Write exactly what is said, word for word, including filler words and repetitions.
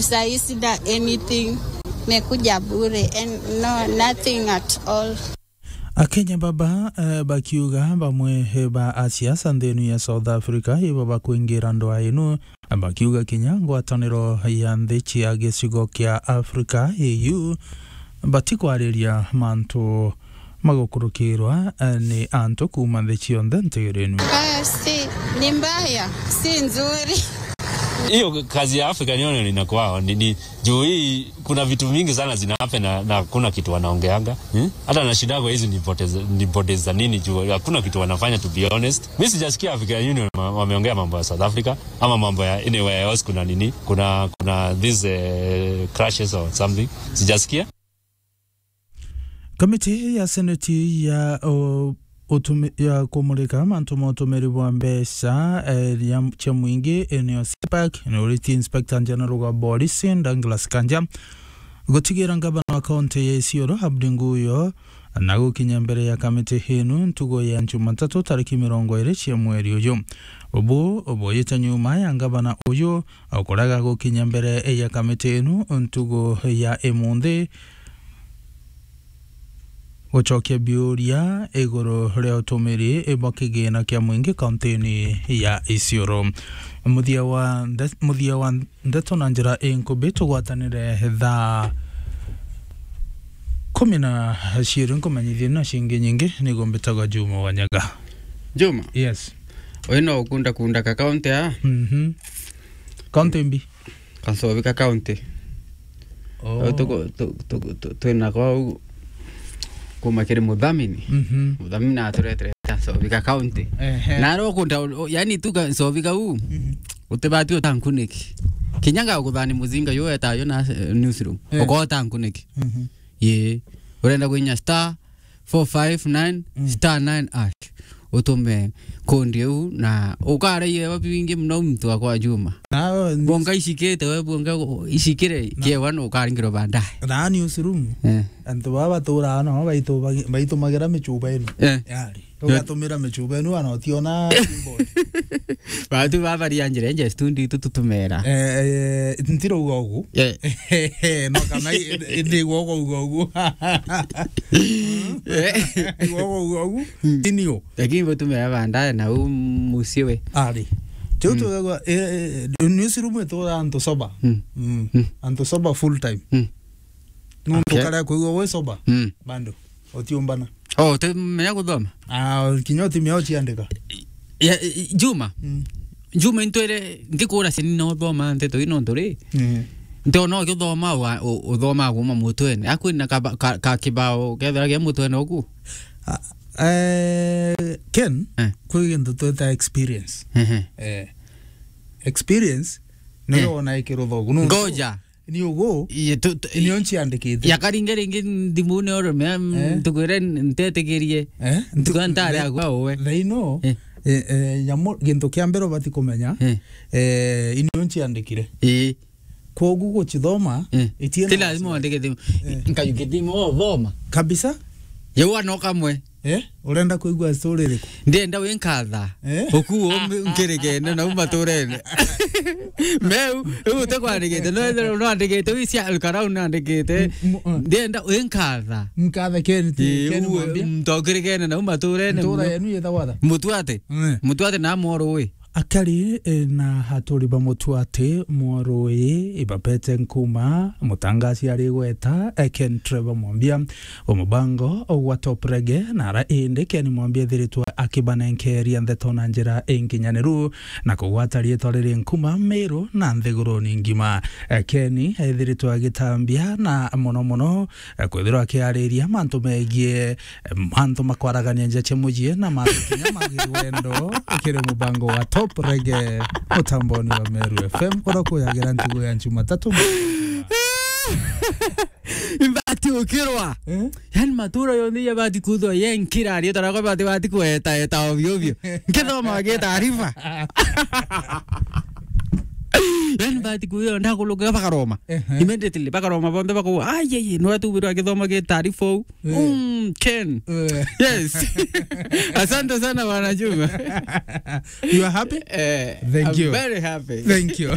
Sahi sina anything. Mekuja bure and no, nothing at all. Akenya baba, eh, bakiuga bamwe, eh, ba asiasa nthini ya South Africa ibo bakwingira ndwaa inu, bakiuga kinya ngwataniro ya nthi cia gicigo kia Africa, A U, batikwariria mantu magukurukirwa, eh, ni antu kuuma nthi cionthe ntigirinu. Ah, si, ni mbaya, si nzuri. Hiyo kazi ya African Union inakuwa ni, ni juu hii, kuna vitu mingi sana zina happen na, na hakuna kitu wanaongeanga. Hmm? Hata nashindaga hizi ni bodies, ni bodies za nini juu hakuna kitu wanafanya, to be honest. Mimi sijasikia African Union ma-, wameongea mambo ya South Africa ama mambo ya anywhere else kuna nini, kuna, kuna these, eh, crashes or something. Sijasikia. Kamiti ya Seneti ya, o, utumi-, ya kumurika mantu ma utumiri bwa mbeca, eh, ya, cia mwingi, eh, niyo CPAC, ni uriti Inspector General wa Borisi, Douglas Kanja, gutigira ngavana wa kaunti ya Isiolo, Abdi Nguyo, na gukinya mbere ya kamiti inu ntugo ya Jumatatu tariki mirongo iri cia mweri uyu. Ubu buyite nyuma ya ngavana uyu kuraga gukinya mbere ya kamiti inu ntugo ya imunthi, gucokia biuria iguru ria utumiri bwa kigina kia mwingi kauntini ya Isiolo. Muthia wa nde-, muthia wa ndeto na njira inkubi, tugwatanire thaa kumi na ciiri, nkumenyithie na cingi nyingi, niguo mbitagwa Juma Wanyaga. Juma? Yes. Uyu no ukunda kunda ka kaunti aa? Mhm. Kaunti mbi? Ka Nsobi ka kaunti. Oh. Au tuku-, tu-, tu-, tu-, twina kwau kuma kiri muthamini. Mhm. Muthamini aturetere ka Nsobi ka kaunti. Ehe. Na aro ukunda u-, u-, yani tu ka Nsobi kau, mhm, utibati utankuniki. Kinya ngaguthani muzinga yu wetayo na, eh, newsroom. Eh. Uko utankuniki. Mhm. Ii. Urenda kwinya star four five nine, mm, star nine hash. Utume kondi iu na ukaraia bingi muno muntu akwa Juma. Na, ni- Bonga icikite we, bonga icikire, na- kiewa no ukaringirwa baadaye. Na newsroom. Eh. Antu baba baturaga no baitu-, baitumagira michuba inu. Eh. Yari. Eh. Ugatumira michuba inu, ana utiona keyboard. Batu baba ria njira nje studio itu tutumera. Eh, eh, ntirauga ugu. Eh. No kana i-, i-, ndigwa ugu, ugu, ugu. Eh. Ndigwa ugu, ugu, ugu. Mm. Inio. Lakini butumira baadaye na u mucii we. Ari. Tiu, mm, tugagwa, eh, eh, newsroom itura antu sober. Mm. Mm. Mm. Antu sober full time. Mm. Nuntu, okay, kare kwigua wi sober. Mm. Bado. Utiumbana. Oh, utimenya guthoma? Ah, kinya utimenya uciandika. Ya, i-, Juma. Mm. Juma, intwire, ngikura ciana no thoma nteto ino ntu ri. Mm. Ntiona ukithoma wa-, u-, uthoma kuma mutwene. Akwina ka, ka, ka kibao kethira kia mutwene uku? Ah, eh, Ken, eh, kwi gintu twita experience. Ehe. Eh, experience, niyo, eh, wona ikiruthogu. Nuntu ngoja. Ni ugu, iye, tu, tu, nio nciandikite. Yakaringe ringi ndimune oro mea, mm, eh, ntukwire ntetikirie. Eh? Ntuka ntare agwa uwe. Thaino, eh, eh, eh, nyamu, gintu kia mbere ubati kumenya, eh, eh, inio nciandikire. Ii. Kwogu gucithoma, eh, itiena ti lazima wasiwasi. Wandike thimu. Eh. Nkayu kithimo thoma. Kabisa. Yau ano kamwe. Eh? Urenda kuigua story iriku? Ndienda winkatha. Eh? Ukuo nkirigene na uma turene. Meu, riu utekwandikite, no ethirwa no andikite, wi cia Alkarau na andikite. M-, m-, uh. Ndienda winkatha. Nkatha Ken, ti, ii, Ken uwe, Mwambia. Muntu ukirigene na uma turene. Ntura yenu yetagwa atha? Mutuate. Eh. Mutuate na Mworu wi. Akari, eh, na aturi ba Mutuate, Mworu wi, ibapete nkuma, mutangaci ari gweta, eh, Ken Trevor Mwambia. Umubango gwa Top Reggae, na ara indi Ken Mwambia ethiritwe akibanenkeria ndeto na njira inkinyaniru, na kugwata riitwa riri nkuma Miru na nthiguruni ngima. Eh, Ken ethiritwe agitambia na mono mono, eh, kwithirwa akiariria mantu megie, eh, mantu makwaragania nja cia mucii na mantu kinya ma wendo kiri mubango wa Top Reggae mutamboni wa Meru F M, kuria kuyagira ntugu ya Jumatatu. Ibati ukirwa. Eh? Yani matura yonthe yabati kuthwa ye nkira ari tarakwa bati, bati kweta eta ovyo ovyo. Nkithoma ge taarifa. Yani bati kuyo ndakuluka bakaroma. Ehe. Immediately bakaroma bonthe bakauga, "Ai, ai, ai, nwa tu biro akithoma ge taarifa u." Eh. Mm, Ken. Eh. Yes. Asante sana, Bwana Juma. You are happy? Eh, thank you. I'm very happy. Thank you.